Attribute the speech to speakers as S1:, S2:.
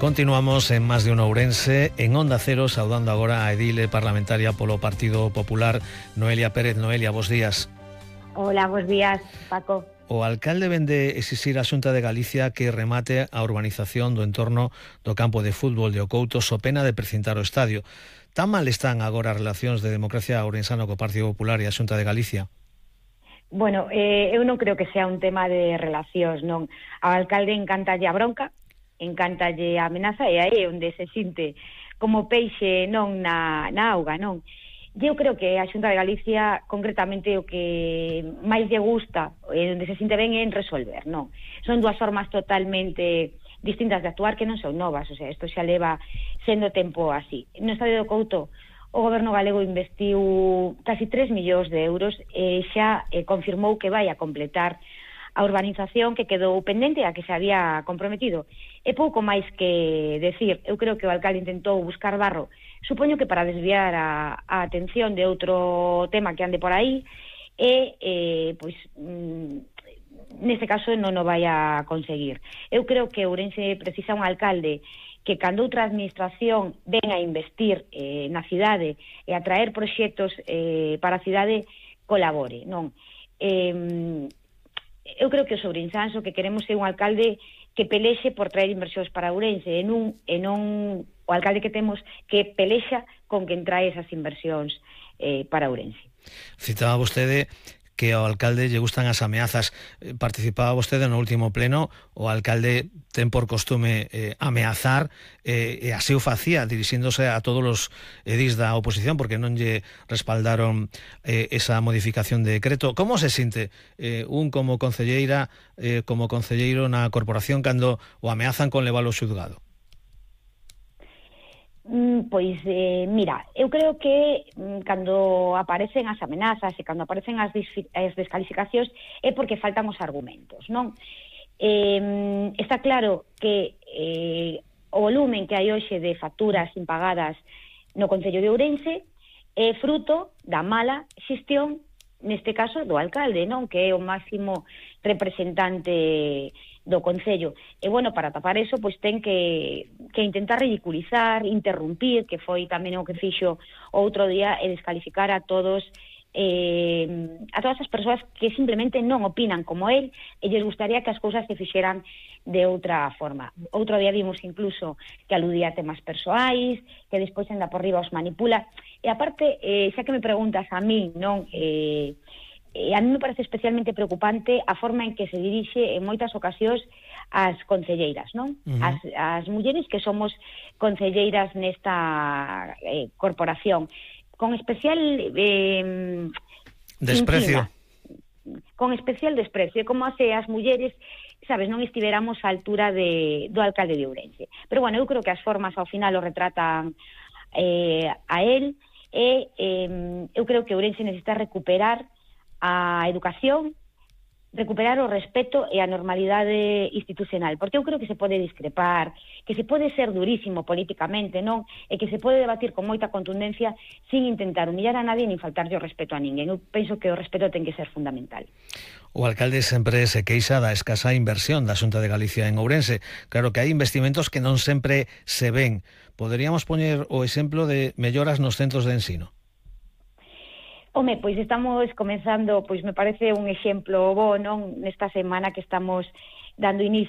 S1: Continuamos en Más de Uno Ourense, en Onda Cero, saudando agora a edile parlamentaria polo Partido Popular, Noelia Pérez. Noelia, bos días.
S2: Hola, bos días, Paco.
S1: O alcalde vende exixir a Xunta de Galicia que remate a urbanización do entorno do campo de fútbol de Ocouto so pena de precintar o estadio. Tan mal están agora as relacións de democracia ourensano co Partido Popular e a Xunta de Galicia?
S2: Bueno, eu non creo que sea un tema de relacións, non. Ao alcalde encantalle a bronca, encantalle a amenaza, e aí onde se sinte como peixe non na auga, non. Eu creo que a Xunta de Galicia, concretamente, o que máis lle gusta, onde se sinte ben, é en resolver, non. Son dúas formas totalmente distintas de actuar que non son novas, o sea, isto xa leva sendo tempo así. No estadio do Couto, o goberno galego investiu casi 3 millóns de euros e xa confirmou que vai a completar a urbanización que quedou pendente a que se había comprometido. É pouco máis que decir. Eu creo que o alcalde intentou buscar barro, supoño que para desviar a atención de outro tema que ande por aí, e, pois, neste caso non o vai a conseguir. Eu creo que Ourense precisa un alcalde que cando outra administración ven a investir na cidade e a traer proxectos para a cidade, colabore, non? Eu creo que os ourensáns o que queremos é un alcalde que pelexe por traer inversións para Ourense e non o alcalde que temos que pelexa con quen trae esas inversións para Ourense.
S1: Citaba vostede que ao alcalde lle gustan as ameazas. Participaba vostede no último pleno, o alcalde ten por costume ameazar, e así o facía, dirixíndose a todos os edís da oposición, porque non lle respaldaron esa modificación de decreto. Como se sinte un como concelleiro na corporación cando o ameazan con leválo ao xulgado?
S2: Pois, mira, eu creo que cando aparecen as amenazas e cando aparecen as descalificacións é porque faltan os argumentos, non? Está claro que o volumen que hai hoxe de facturas impagadas no Concello de Ourense é fruto da mala xestión, neste caso, do alcalde, non? Que é o máximo representante do Concello. E, bueno, para tapar eso, pois ten que intentar ridiculizar, interrumpir, que foi tamén o que fixo outro día, e descalificar a todas as persoas que simplemente non opinan como él e lles gustaría que as cousas se fixeran de outra forma. Outro día vimos incluso que aludía a temas persoais, que despois anda por riba os manipula. E aparte, xa que me preguntas a mí, non... a mí me parece especialmente preocupante a forma en que se dirixe en moitas ocasións as concelleiras, non? As mulleres que somos concelleiras nesta corporación, con especial
S1: desprecio.
S2: Con especial desprecio, como se as mulleres, sabes, non estiveramos á altura do alcalde de Ourense. Pero bueno, eu creo que as formas ao final o retratan a él, e eu creo que Ourense necesita recuperar a educación, recuperar o respeto e a normalidade institucional, porque eu creo que se pode discrepar, que se pode ser durísimo políticamente, non? E que se pode debatir con moita contundencia sin intentar humillar a nadie nin faltarlle o respeto a ninguén. Eu penso que o respeto ten que ser fundamental.
S1: O alcalde sempre se queixa da escasa inversión da Xunta de Galicia en Ourense. Claro que hai investimentos que non sempre se ven. Poderíamos poñer o exemplo de melloras nos centros de ensino?
S2: Home, pois estamos comenzando, pois me parece un exemplo bo, non? Nesta semana que estamos dando inicio